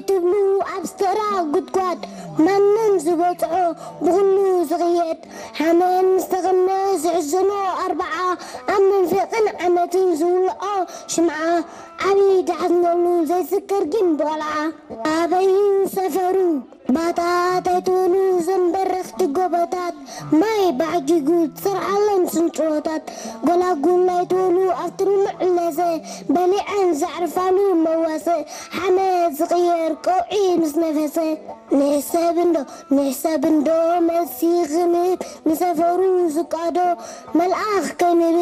ትብሉ ኣብ ዝተራ ጉድጓድ ማንም ዝበጽሖ ብኹሉ ዝቕየድ ሓመድ ምስ ተቐመ ዝሕዝኖ ኣርብዓ ኣብ መንፈቕን ዓመትን ዝውልዖ ሽምዓ ዓብዪ ዳሕዝነሉ ዘይስከር ግን ብቆልዓ ኣበዩ ሰፈሩ ባታት ኣይትበሉ ዘንበረኽቲ ጎቦታት ማይ ባዕጊጉ ዝሰርሓለን ስንጭወታት ጎላጉል ኣይትበሉ ኣብቲ ልሙዕ ለዘ በሊዐን ዘዕርፋሉ መዋሰ ሓመድ ዝቕየር ቀውዒ ምስ ነፈሰ ንሕሰብ እንዶ ንሕሰብ እንዶ መልሲ ክንብ ንሰፈሩ ዝቃዶ መልኣኽ ከይንብል